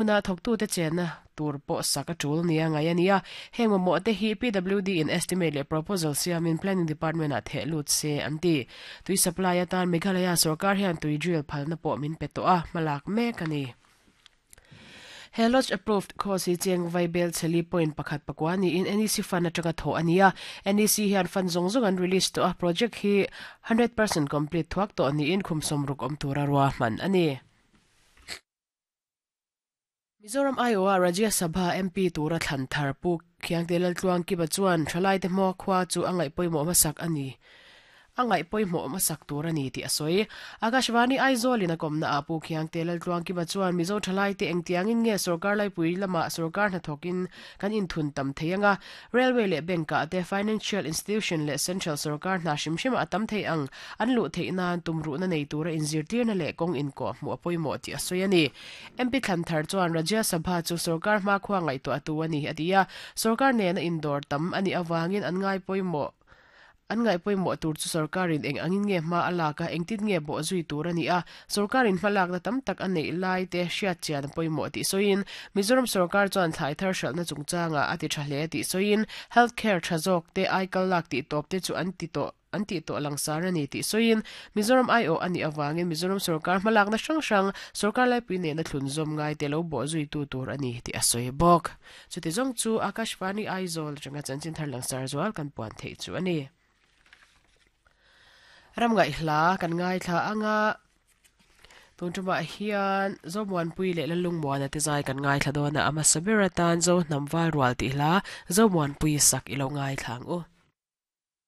Huna thawktute chenna tur pawh sak a tul nia ngaih a ni a, heng mamawh te hi PWD in estimate leh proposal siamin Planning Department ah theh lut se an ti. Tui supply atan Meghalaya sorkar hian tui drill phalna pawh min pe tawh a, hmalak mek a ni. He lodge approved course hi cheng Vaibel chheli point pakhat pakua niin NEC fund atanga thawh a ni a, NEC hian fund zawng zawng an release tawh a, project hi 100% complete thuak tawh niin khum sawmruk awm tura ruahman a ni. Mizoram aiawha Rajya Sabha MP tura thlan thar Pu Khiangte Laltluangkipa chuan thalaite hma khua chu a ngaih pawimawh hmasak a ni a ngaih pawimawh hmasak tur a ni tih a sawi. Akashvani Aizawl-in a kawmna ah Pu Khiangte Laltluangkipa chuan Mizo thalaite engtiangin nge sorkar laipui lamah sorkar hnathawkin kan inthun tam thei anga Railway leh Bank ah te Financial Institution leh Central sorkar hna hrim hrimah a tam thei ang an luh theih nan tumruhna nei tura inzirtirna leh kawng inkawh hmuh a pawimawh tih a sawi a ni. MP Thlanthar chuan Rajya Sabha chu sorkar hmakhua ngaihtuah tu a ni a ti a, sorkar nena indawr tam a nih avangin an ngai pawimawh An ngaih pawimawh tur chu sorkarin eng angin nge hma a lak a, engtin nge bawh zui tur a ni a, sorkarin hmalakna tam tak a neih lai te hriat chian a pawimawh tih sawiin, Mizoram sorkar chuan thlai thar hralhna chungchangah a ti tha hle tih sawiin, health care tha zawk te, aikal lak tih tawp te chu an ti tawh an tih tawh langsar a ni tih sawiin, Mizoram aiawh a nih avangin Mizoram sorkar hmalakna hrang hrang sorkar laipui nena thlunzawm ngai te lo bawh zuitu tur a ni tih a sawi bawk. Chuti zawng chu Akashvani Aizawl atanga chanchin thar langsar zual kan puan theih chu a ni. Ram ngaihhla kan ngaithla anga tun tumah hian Zomuanpui leh Lalungmuana te zai kan ngaithla dawn a, a hmasa ber atan Zohnam Valrual tih hla Zomuanpui sak i lo ngaithla ang u.